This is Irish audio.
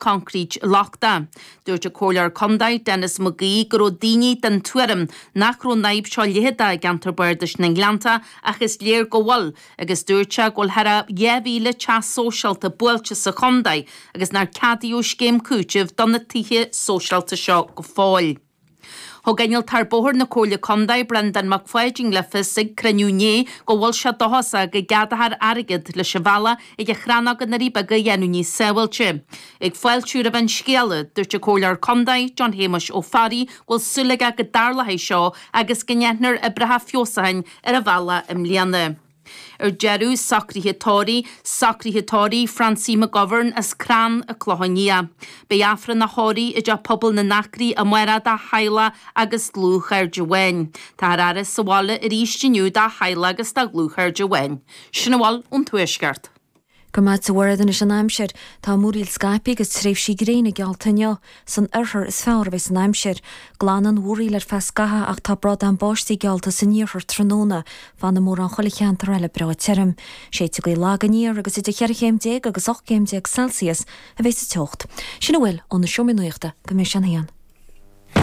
Coincréit lochtach. Dúirt an Comhairleoir Contae, Denis McGee, go raibh daoine den tuairim nach raibh an fhadhb seo leitheadach i gceantar bardais na nGleannta ach is léir go bhfuil agus dúirt sé go bhfuil thar a 2,000 teach sóisialta buailte sa chontae agus nár ceadaíodh scéim cúitimh do na tithe sóisialta seo go fóill. Thug Innealtóir Bóthair na Comhairle Contae, Breandán Mac Pháidín le fios ag cruinniú inné go bhfuil sé dóchasach go gceadófar airgead leis an bhealach ag an Chrannóg i nDoirí Beaga a dhéanamh níos sábháilte. Ag fáiltiú roimh an scéala, dúirt an Comhairleoir Contae, John Shéamuis Ó Fearraigh go bhfuil súil aige go dtarlóidh seo agus go ndéanfar oibreacha feabhsúcháin ar an bhealach i mbliana. Ar deireadh, socruithe tórraimh, socruithe tórraimh Francie McGovern as Crann an Clochán Liath. Beidh Aifreann a thórraimh i dTeach Pobail na nAcraí amárach dá theaghlach agus dlúthchairde amháin. Táthar á faire sa bhaile arís inniu dá theaghlach agus dá dhlúthchairde amháin. Sin a bhfuil ón Tuaisceart. Go raibh maith agat a Mhairéad anois an aimsir. Tá múraíl scaipthe agus tréimhsí gréine geallta inniu. San oirthear is fearr a bheas an aimsir. Glanfaidh an mhúraíl ar feadh scaithimh ach tá bradán báistí geallta san iarthar tráthnóna. Fanfaidh mórán chuile cheantar eile breá tirim. Séidfidh gaoth lag aniar agus idir cheithre chéim déag agus 18 céim Celsius a bheas an teocht. Sin a bhfuil ó na seomraí nuachta go mbeidh sé an haon.